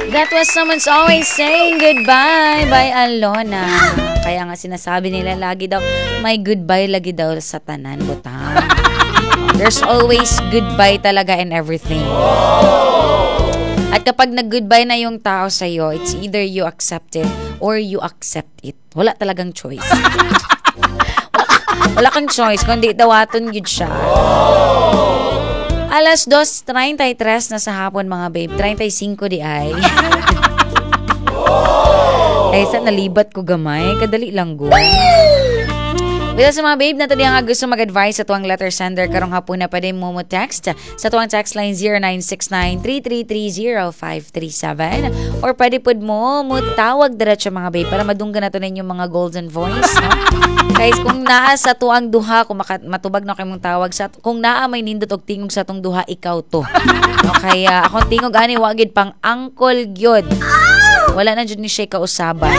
That was Someone's Always Saying Goodbye by Alona. Kaya nga sinasabi nila lagi daw, may goodbye lagi daw sa tanan, butang. There's always goodbye talaga in everything. At kapag nag-goodbye na yung tao sa'yo, it's either you accept it or you accept it. Wala talagang choice. Wala kang choice, kundi dawaton gyud siya. Alas 2:33 na sa hapon, mga babe. 35 di ay. Ay, sa nalibat ko gamay. Kadali lang go. Bila sa mga babe na to nga gusto mag-advise sa tuwang letter sender karong hapon na pwede mo mo text sa tuwang text line 0969-3330537 or pwede pod mo mo tawag diretso, mga babe, para madunggan nato ninyo mga golden voice, no? Guys, kung naa sa tuang duha, kung matubag na kay mong tawag sa kung naa may nindot og tingog sa tong duha, ikaw to. No, kaya akong tingog ani wa gid pang angkol gyud. Wala na jud ni siya kausaban.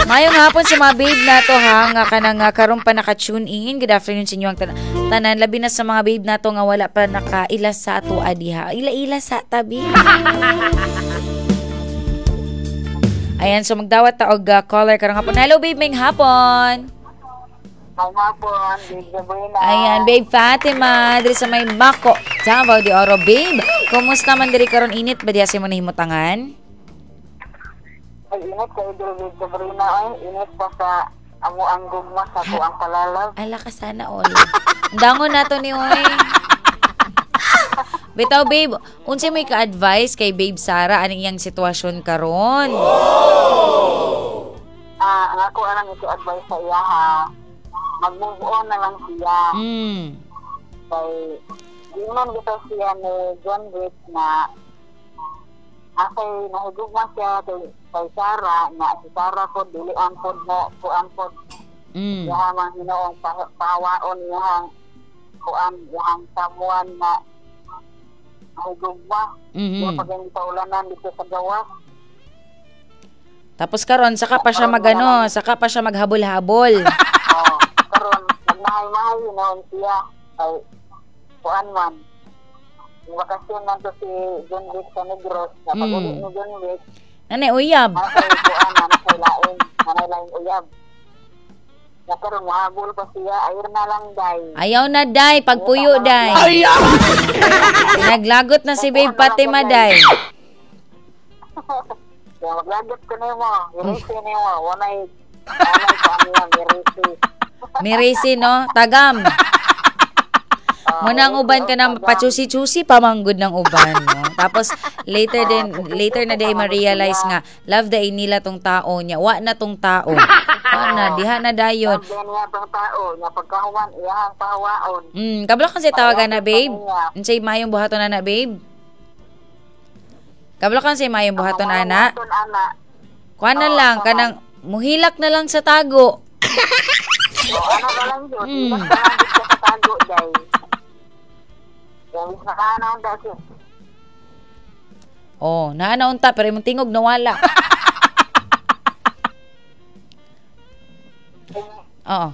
Mayong hapon sa mga babe na to ha, nga kanang karon pa naka-tune in. Good afternoon sa inyo ang tanan. Labi na sa mga babe na to nga wala pa nakaila sa ato diha. Ila-ila sa tabi. Ayan, so magdawat ta og caller karong hapon. Hello babe, may hapon. May hapon, babe Sabrina. Ayan, babe Fatima, diri sa may Mako, Davao de Oro. Babe, kumusta man diri karon, init ba diha sa imong nahimutangan? Ay, init kayo diri, babe Sabrina. Ay, init pa sa amo ang gugma sa ako ang palalab. Ala ka, sana all. Dangon nato ni oy. Bitaw babe, unsay may ka-advise kay babe Sara aning iyang sitwasyon karon? Ah, ang ako anang ito-advise sa iya ha. Mag-move on na lang siya. Kay ingon gito siya ni John Wick na asay nahigugma siya kay Sara na si Sara po dili ang pod mo kuan pod. Yaha mang Hinoong pahawaon yahang kuan yahang samuan na nahigugma. Mm-hmm. Pag yung paulanan dito sa gawas. Tapos karon saka pa siya magano, saka pa siya maghabol-habol. Oh, karon magmahay-mahay noon siya ay kuan man. Bakasyon man to si John Wick sa Negros. Na pag-ulit ni John Wick, nanay uyab. Nanay kuan, nanay lain, nanay lain uyab. Na karon mahabol pa siya, ayaw na lang day. Ayaw na day, pagpuyo day. Ayaw! Naglagot na si babe Fatima day. Kaya maglagot ko na mo, mirisi na mo, wanay kuan niya, mirisi. Mirisi, no? Tagam. Muna ang uban ka na pachusi-chusi pamanggod ng uban, no? Tapos later na day ma-realize nga love day nila tong tao niya. Wa na tong tao. Wa na diha na dayon. Love day niya tong tao, nya pagkahuman iyahang pahawaon. Kabalo kan say tawagan na babe. Unsay maayong buhaton ana babe? Kabalo kan say maayong buhaton ana. Kuan na lang kanang muhilak na lang sa tago. Ano na lang yun? Hilak na lang sa tago day. Oh, naanaon ta pero imong tingog nawala. Oo.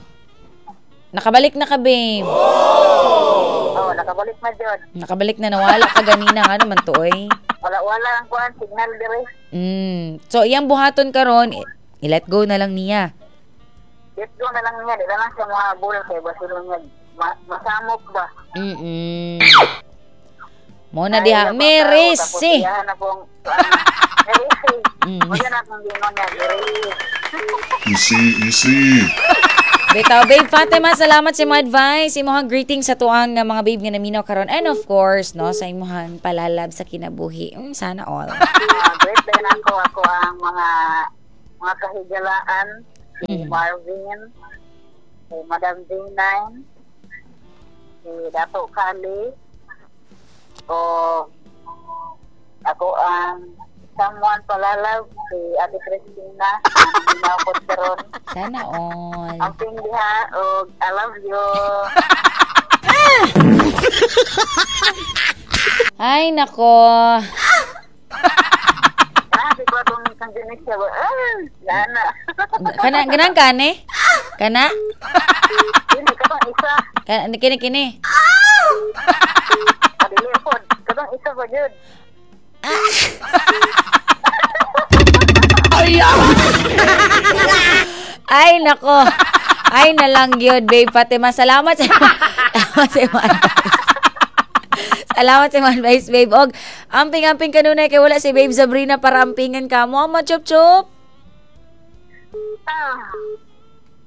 Nakabalik na ka, babe. Oh, nakabalik na jud. Nakabalik na, nawala ka ganina nga naman to oy. Wala ang kuan signal dire. So iyang buhaton karon, i-let go na lang niya. Let go na lang niya, di na lang siya mohabol kay basin niya masamok ba? Mo na diha, merisi. Merisi. Mo na akong gingon niya, merisi. Easy, easy. Bitaw, babe Fatima, salamat sa imong advice, imong greeting sa tuang nga mga babe nga naminaw karon and of course, no, sa imong palalab sa kinabuhi. Sana all. Great din ako ang mga kahigalaan, si Marvin, si Madam D9, si Dato Kali, o ako ang someone palalab, si Ate Christina, ang karon. Sana all. Ang pingdiha, o I love you. Ay, nako. Kana, ganang kani? Kana? Kini, katong isa. Kini, kini. Katong isa ba yun? Ay, nako. Ay, nalang yun, babe Fatima. Salamat sa imong advice. Salamat sa imong advice, babe. Og, amping-amping kanunay kay wala si babe Sabrina para ampingan ka. Mo, chup chup. Ah,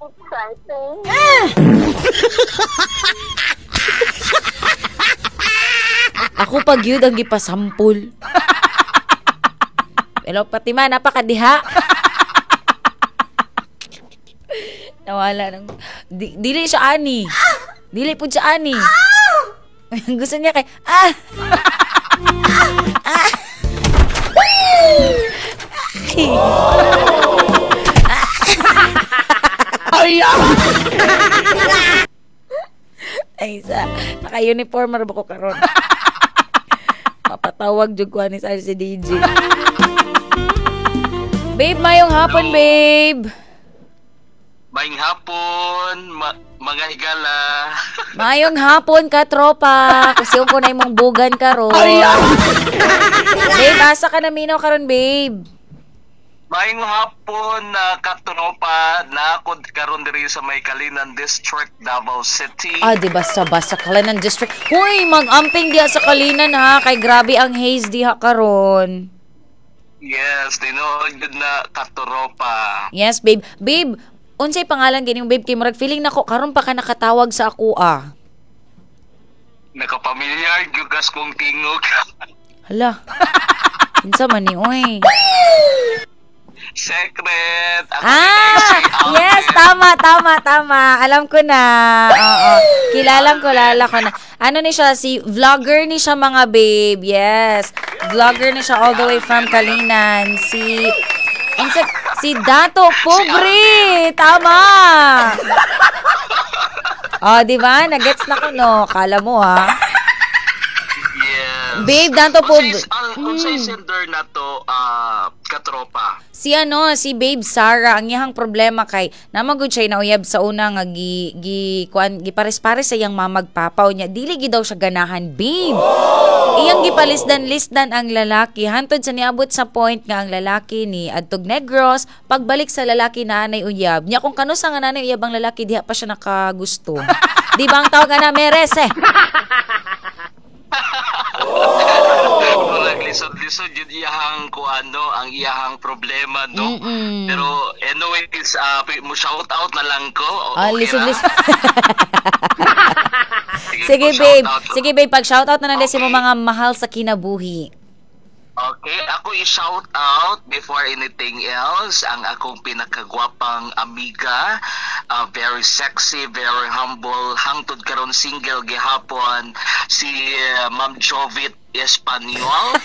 exciting. Ako pag yun ang gipasampol. Pero Fatima, napakadiha. Nawala nang dili siya ani. Dili pud siya ani. Gusto niya kay ah. Ah. Ay. Ay sa naka-uniform ra ba ko karon. Mapatawag jud ko ani sa si DJ. Babe, mayong hapon, babe. Maayong hapon, mga higala. Maayong hapon ka, tropa. Kasi ko na imong bugan karon. Babe, asa ka na minaw karon, babe? Maayong hapon na katropa, na ako karon diri sa may Kalinan District, Davao City. Ah, di ba sa basta Kalinan District. Huy, mag-amping diha sa Kalinan ha, kay grabe ang haze diha karon. Yes, tinuod gud na katropa. Yes, babe. Babe, unsay pangalan gini babe kay murag feeling nako karon pa ka nakatawag sa ako ah. Nakapamilyar gyud kas kong tingog. Hala. Kinsa man ni oy? Secret. Ako Ah, yes, tama. Alam ko na. Oo. Kilala ko na. Ano ni siya, si vlogger ni siya mga babe. Yes. Vlogger ni siya all the way from Kalinan. Si Dato Pobre. Tama. Oh, di ba? Nagets na ko no. Kala mo ha. Yes. Babe, Dato Pobre. Unsay sender na to katropa? Si si Babe Sarah, ang iyang problema kay namagud siya nauyab sa una nga gi kuan gipares-pares sa iyang mamagpapaw niya. Dili gid daw siya ganahan, babe. Iyang gipalisdan-lisdan ang lalaki hantod sa niabot sa point nga ang lalaki ni adtog Negros, pagbalik sa lalaki na anay uyab. Nya kung kanusa nga nanay uyab ang lalaki diha pa siya nakagusto. Di ba ang tawag ana merese? Murag lisod-lisod yun iyahang kuano ang iyahang problema no. Mm-mm. Pero anyways, mo shout out na lang ko. Ah, Okay lisod-lisod. Sige, Sige babe. shout out. Sige babe, pag shout out na lang okay. Okay. Sa mga mahal sa kinabuhi. Okay, ako i-shout out before anything else ang akong pinakagwapang amiga, very sexy, very humble, hangtod karon single gihapon si Ma'am Jovit Espanyol.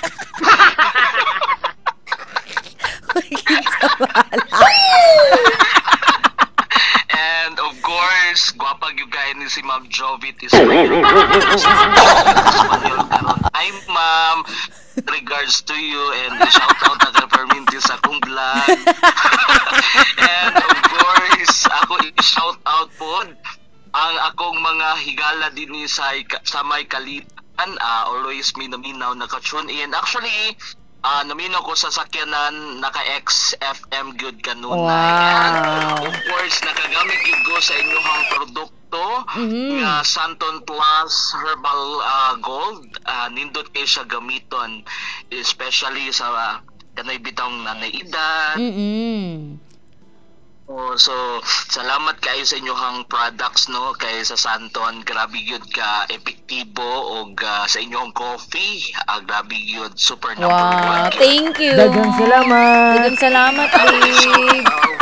And of course, gwapa gyud kaayo ni si Ma'am Jovit Espanyol. Espanyol karon. Hi ma'am, regards to you and shout out na Perminti sa akong vlog. And of course, ako i-shout out po ang akong mga higala dinhi sa may Kalitan, always minaminaw naka-tune in. Actually, naminaw ko sa sakyanan naka XFM gyud kanunay. Wow. And of course, nakagamit gyud ko sa inyong produkto nga Santon Plus Herbal Gold. Nindot kay siya gamiton, especially sa kanay bitong nanay edad. Mm-mm. Oh, so salamat kayo sa inyong products no kay sa Santon, grabe gyud ka epektibo og sa inyong coffee, grabe gyud, super number Wow, one. thank you. Daghang salamat. Daghang salamat, babe.